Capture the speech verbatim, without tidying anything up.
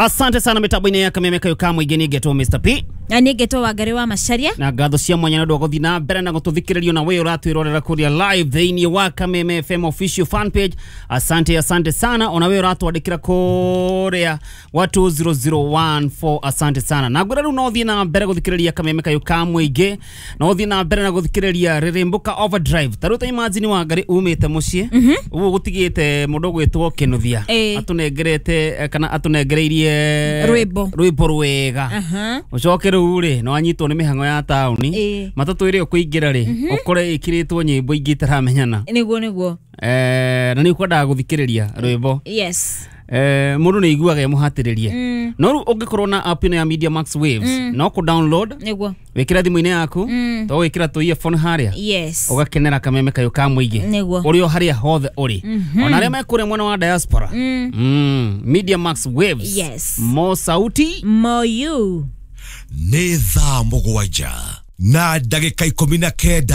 Asante sana mitambo-inĩ ya Kameme kayo ka mũingĩ. Nĩ ngetwo Mister P. Na niĩ ngetwo Wangari wa Macharia. Na ngatho cia mwanya nĩ ũndũ wa gũthiĩ na mbere na gũtũthikĩrĩrio na we ũratwĩrorera kũrĩa live thĩinĩ wa Kameme F M official fan page. Asante, asante sana. Ona we ũratwandĩkĩra kũrĩa wa two zero zero one four, asante sana. Na ngwĩra rĩu no ũthiĩ na mbere gũthikĩrĩria Kameme kayo ka mũingĩ, no ũthiĩ na mbere na gũthikĩrĩria Rĩrĩmbũka Overdrive. Ta rĩu ta imagine Wangari umĩte mũciĩ ũguo gũtigĩte mũndũ ũgwĩtwo Kĩnuthia Ĩĩ. atũnengerete eh, kana atũnengereirie Rwĩmbo. Rwĩmbo rwega. Aha. Ũcoke rĩu rĩ no anyitwo nĩ mĩhang'o ya taũni, Ĩĩ. matatũ ĩrĩa ũkũingĩra rĩ ũkore ĩkĩrĩtwo nyĩmbo ingĩ itaramenyana. Nĩguo nĩguo. Eh, na nĩ ũkwendaga gũthikĩrĩria rwĩmbo. Yes. Eh, mũndũ nĩ aiguaga ĩmũhatĩrĩrie, Mm. no rĩu ũngĩkorwo na app ĩno ya Media Max Waves, no kũ download, Nĩguo. wĩkĩre thimũ-inĩ yaku, Mm. to gwĩkĩra tũ earphone harĩa, Yes. ũgakenera Kameme kayo ka mũingĩ Nĩguo. ũrĩ o harĩa hothe ũrĩ, ona arĩa me kũrĩa mwena wa diaspora. Mm. Mm. Media Max Waves. Yes. Mo sauti. More you. Nĩ thaa mũgwanja na ndagĩka ikũmi na kenda.